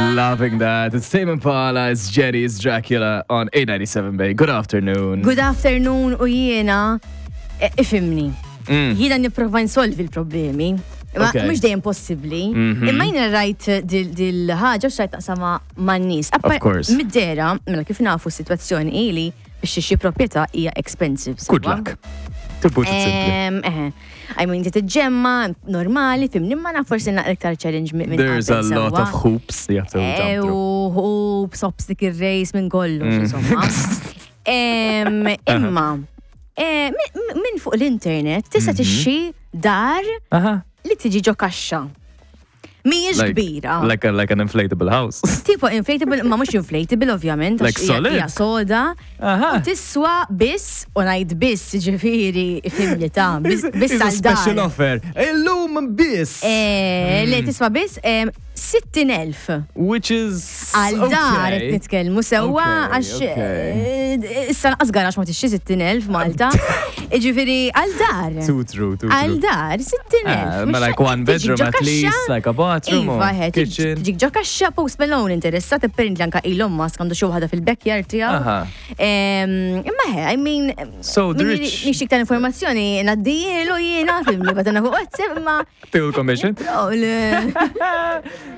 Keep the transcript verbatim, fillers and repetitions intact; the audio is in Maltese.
Loving that. It's Tame Impala, it's Jenny, it's Dracula on eight ninety-seven Bay. Good afternoon. Good afternoon, u jiena, eh, ifhimni. Mm. Jiena nipprova nsolvi l-problemi. Ma Okay. mhux dejjem possibbli. Mhm. Imma jiena rajt dil-ħaġa u xtaqt naqsamha man-nies. Of course. Mid-dehra, mela kif nafu s-sitwazzjoni ili biex xi proprjetà hija expensive. Good Sewwa? luck. To put it simply. Em, eh, I mean, tiġġemma, normali, fhimni, ma naf forsi naqra iktar challenge minn There's a qabel, lot sewwa. of hoops you have to jump through. U hoops, obstacle race minn kollox, Mm. insomma. Em, Imma, eh, min min fuq l-internet tista' Mhm. tixtri dar Aha. li tiġi ġo kaxxa. Mhijiex Like, kbira. like, a, like an inflatable house. Tipo inflatable, ma mhux inflatable ovvjament, għax Like hija- solid? hija soda. Aha. U tiswa biss, u ngħid biss, ġifieri, ifhimni ta' biss biss It's a għal special dar. offer. Illum biss. Eh, Mm. Le tiswa biss em, sittin elf. Which is Għal dar qed okay. nitkellmu sewwa Okay, għax okay. eh, issa naqas garax ma tixtri sittin elf Malta. Ġifieri għal dar. Too true, too Għal true. dar sittin elf. Ah, ma like one bedroom at least, like a bathroom Iva, or he, kitchen. tiġik ġo kaxxa. Post Malone interessat, apparently anka Elon Musk għandu xi waħda fil-backyard tiegħu. Aha. Em, Imma he, I mean, So the min rich- nixtieq ta' informazzjoni ngħaddihielu jiena, fhimni, bagħtilna fuq WhatsApp, imma Till commission. Oh, le-